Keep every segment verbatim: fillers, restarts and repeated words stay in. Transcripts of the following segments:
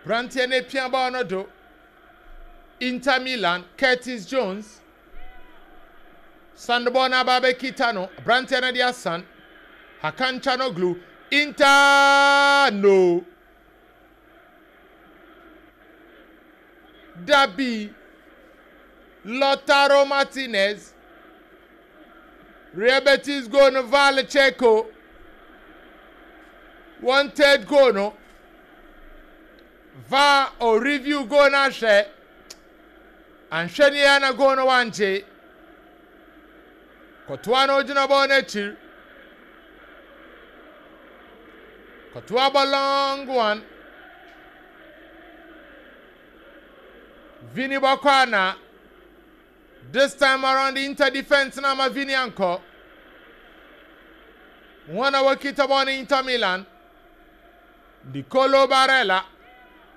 Branteɛ no apia bɔɔl no do. Inter Milan, Curtis Jones. San bɔɔl no aba abɛkita no. Branteɛ no de asan. Hakan Çalhanoğlu. Inter no. Dabi. Lautaro Martinez. Real Betis goal no VAR check o. One third goal no. VAR o review goal no ahwɛ. Anhwɛ ne yɛ na goal no wangye. Kɔtoa no ogyina bɔɔl n'akyiri. Kɔtoa bɔ long one. Vini bɔkɔ ana. This time around the Inter defense na ama Vini ankɔ. Wɔn a wɔkita bɔɔl no Inter Milan. Nicolo Barella.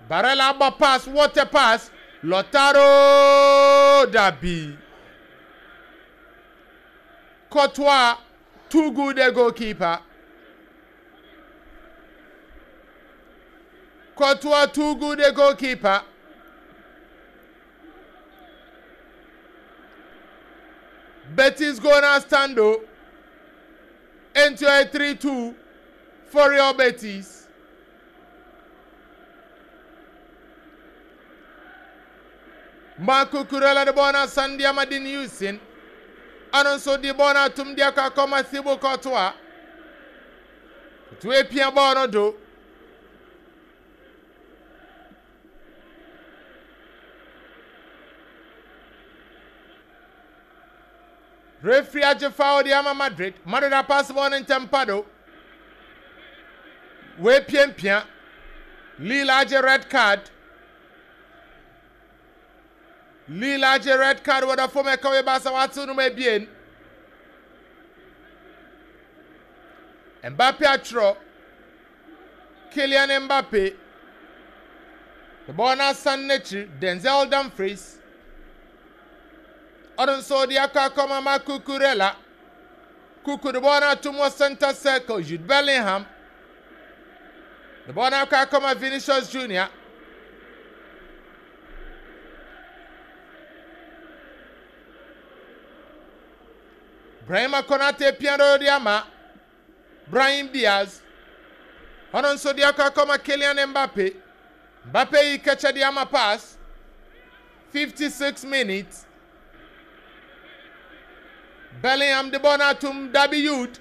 Barella abɔ pass, what a pass. Lautaro Dabi. Courtois, too good a goalkeeper. Courtois, too good a goalkeeper. Betis gonna stand though. Into a three two for Real Betis. Marco Cucurella de bɔɔl no asan de ama Dean Huijsen. Ɔno nso de bɔɔl no atum de akɔ akɔma Thibaut Courtois. Courtois epia bɔɔl no do. Referee agye foul de ama Madrid. Madrid apass bɔɔl no ntɛm pa do. Wepiampia. Lille agye red card. Lille agye red card wɔ da fam ɛka wɔ baasa watew no mu ebien. Mbappe atwerɛ. Kylian Mbappe. The ball no asan n'akyiri. Denzel Dumfries. Ɔno nso de akɔ akɔma ma Cucurella. Cucu de ball no atom wɔ center circle. Jude Bellingham. The ball no akɔ akɔma Vinicius Junior. Brahima Konate piano de ama Brahim Diaz. Ɔno nso de akɔ akɔma Kylian Mbappe. Mbappe yi kɛkyɛ de ama pass. fifty-six minutes. Bellingham de bɔɔl no atom Dabi Jude.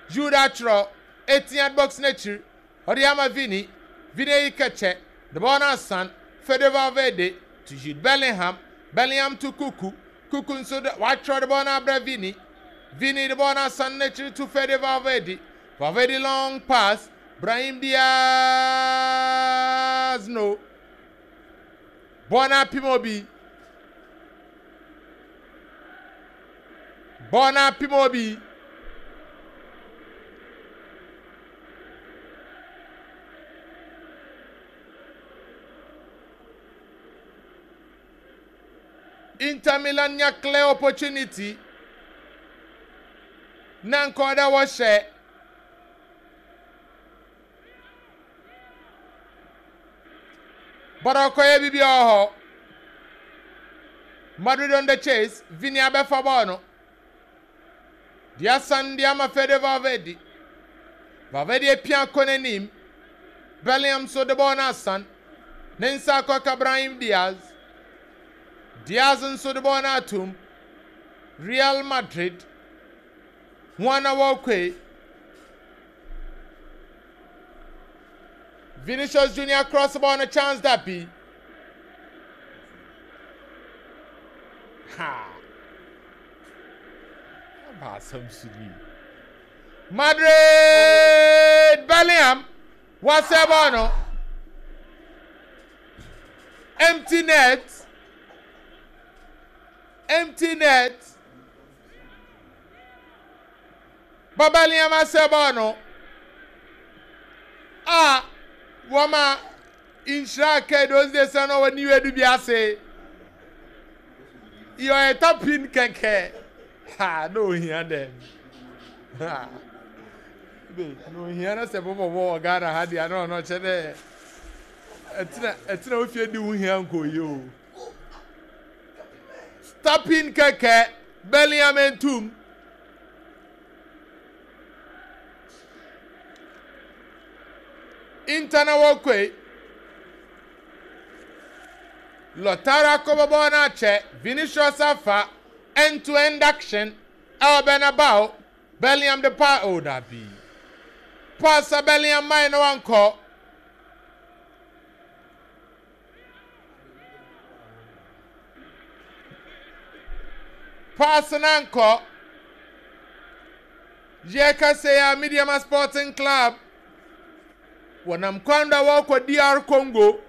Jude atwerɛ eighteen yard box n'akyiri. Ɔde ama Vini. Vini yi kɛkyɛ. De bɔɔl no asan. Fede Valverde to Jude Bellingham. Bellingham to Cucu. Cucu nso de watwerɛ de bɔɔl no abrɛ Vini. Vini de bɔɔl no asan n'akyiri to Fede Valverde. Valverde long pass. Brahim Diaz no. Bɔɔl no apem obi. Bɔɔl no apem obi. Inter Milan nya clear opportunity. Na nka ɔda wɔhyɛ. But ɔkɔyɛ bibi wɔ hɔ. Madrid on the chase. Vini abɛfa bɔɔl no. De asan de ama Fede Valverde. Valverde apia kɔ n'anim. Bellingham nso de bɔɔl no asan. Ne nsa akɔka Brahim Diaz. Diaz nso de bɔɔl no atom. Real Madrid. Wɔn na wɔrekɔ yi. Vinicius Junior cross ball no chance that be. Ha. Aba asɛm so ni. Madrid Bellingham wasɛ bɔɔl no. Empty net. Empty net. Ba Bellingham asɛ bɔɔl no. A wɔma nhyira aka those days na wɔ new edu bi ase. Yɛ tapin kɛkɛ. Ha na ohia dɛm. Ha. Be na ohia na sɛ bɔbɔ bɔ wɔ Ghana ha deɛ na ɔno kyɛ dɛ Ɛtena ɛtena ofie di wo hia nkɔ yie o. Stopping kɛkɛ, Bellingham entum. Inter na wɔkɔe. Lautaro akɔbɔ bɔɔl no akyɛ. Vinicius afa end to end action ɛwɔ Bernabeu. Bellingham de pa o dabi. Pass a Bellingham man na wankɔ. Pass na nkɔ. Yɛkasa yi a, Medeama Sporting Club wɔnam kwan do a wɔrekɔ D R Congo.